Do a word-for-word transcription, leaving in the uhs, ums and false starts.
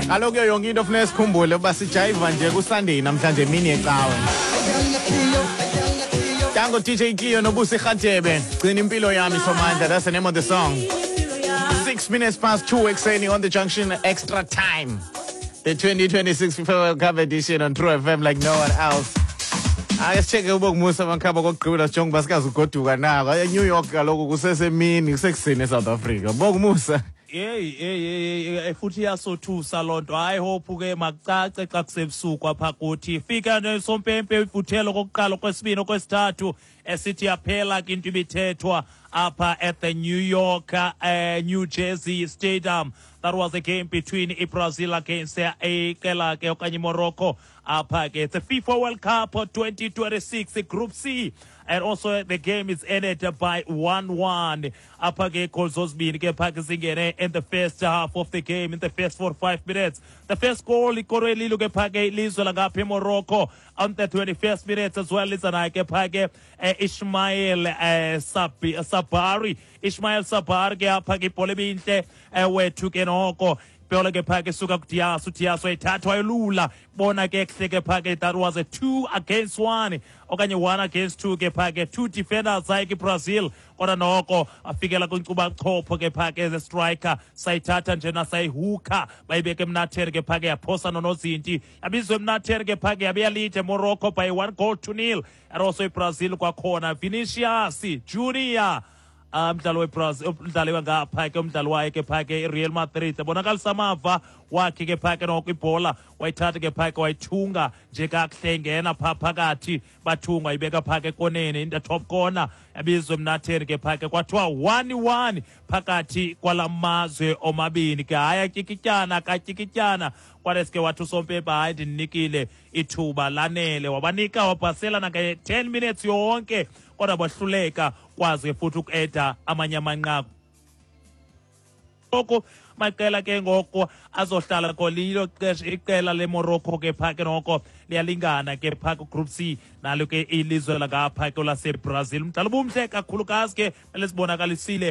Kaloku kuyo yonke into funeka sikhumbule uba sijayiva nje kuSunday namhlanje, emini yecawe. Tango D J Cleo noBusi Rhatebe, "Gcina Impilo Yami Somandla", that's the name of the song. Six minutes past two ekuseni on The Junction Extra Time, the twenty twenty-six FIFA World Cup edition on True F M like no one else. Ake sicheke uBongumusa Makhaba kokugqibela, sijonge uba sikaze ugoduka nako eNew York. Kaloku kusesemini, kusekuseni eSouth Africa, Bongumusa. Hey, hey, hey, hey, futhi iyasothusa loo nto. Hayi, hope ke makucace xa kusebusuku apha kuthi. Fika nesompempe ifuthelo kokuqala, okwesibini, okwesithathu, esithi yaphela ke into ibithethwa apha at the New York, uh, New Jersey Stadium. That was a game between iBrazil against iqela ke okanye iMorocco apha ke. It's a FIFA World Cup twenty twenty-six Group C, and also the game is ended by one one. Apha ke goals zozibini ke pha ke zingene in the first half of the game, in the first forty-five minutes. The first goal ikorwe lilo ke pha ke ilizwe langapha eMorocco on the twenty-first minutes as well. Liza naye ke pha ke eh, Ismail eh, Sabi, Sabari Ismail Sabari ke apha ke ibhola ebintle eh, wethu ke noko ibhola ke phake suka kuDias, uDias wayithatha wayolula bona ke kuhle ke phake. That was a two against one okanye one against two ke phake, two defenders zakhe iBrazil, kodwa noko afikela kwinkcubabuchopho ke phake the striker, sayithatha njena sayihuka, bayibeka emnatheni ke phake, yaphosa nonozinti, yabizwa emnatheni ke phake, yabe yalide Morocco by one goal to nil. And also iBrazil kwakhona Vinicius Junior, umdlalo weBrazil, umdlali wangapha ke, umdlali waye ke pha ke iReal Madrid, ebonakalisa amava wakhe ke pha ke noko ibhola wayithatha ke pha ke wayithunga nje kakuhle, ingena pha phakathi, bathunga, ibeka pha ke ekoneni, in the top corner, yabizwa emnatheni ke pha ke, kwathiwa one one phakathi kwala mazwe omabini ke. Hayi, atyikityana katyikityana, kwadeske wathi usompempe, "Hayi, ndinikile ithuba lanele." Wabanika, wabhasela nange-ten minutes yonke, kodwa bahluleka kwazi ke futhi uku-eda amanye amanqaku. Ngoku maqela ke ngoku azohlala kolilo xesha, iqela leMorocco ke phaa ke noko liyalingana ke phaa kuGroup C nalo ke ilizwe langapha ke laseBrazil. Umdlalo ubumhle kakhulukazi ke, lesibonakalisile.